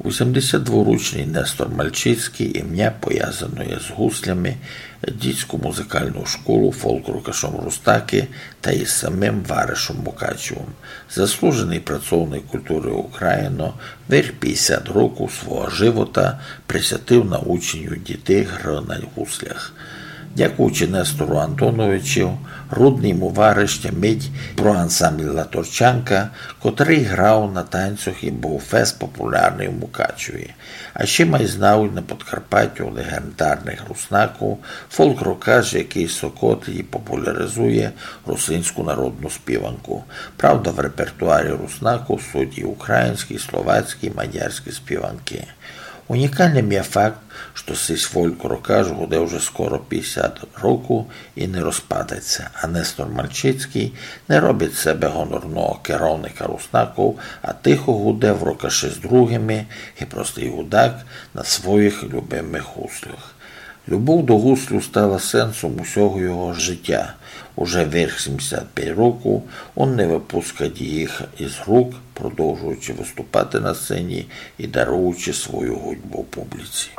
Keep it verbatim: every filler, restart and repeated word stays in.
Вісемдесятдворічный Нестор Мальчицькый імня повязано є з гуслями, дітську музикалну школу, фолк-рокашом Руснаки та із самим варишом Мукачевом. Заслуженый працовник культуры Україны верх пятдесят років свого живота присвятив наученню дітей гры на гуслях. Дякуючи Нестору Антоновичу, рудный му вариш тямить про ансамбль Латорчанка, котрый грав на танцях і быв фест популярный у Мукачеві. А ще май знавуть на Подкарпаттю легендарных Руснаків, фолк-рокаш, якый сокотить і популяризує русинську народну співанку. Правда, в репертуарі Руснаків суть і українські, і словацькі, і мадярські співанки. Унікалным є факт, што сись фолк-рокаш гуде вже скоро пятдесят років і не розпадать ся, а Нестор Мальчицькый не робить з себе гонорного керовника Руснаків, а тихо гуде в рокаши з другыми, ги простый гудак на своїх любимых гуслях. Любов до гуслів стала сенсом усього його життя. Уже верх сімдесят пять років он не выпускать їх із рук, продовжуючи выступати на сцені і даруючи свою гудьбу публіці.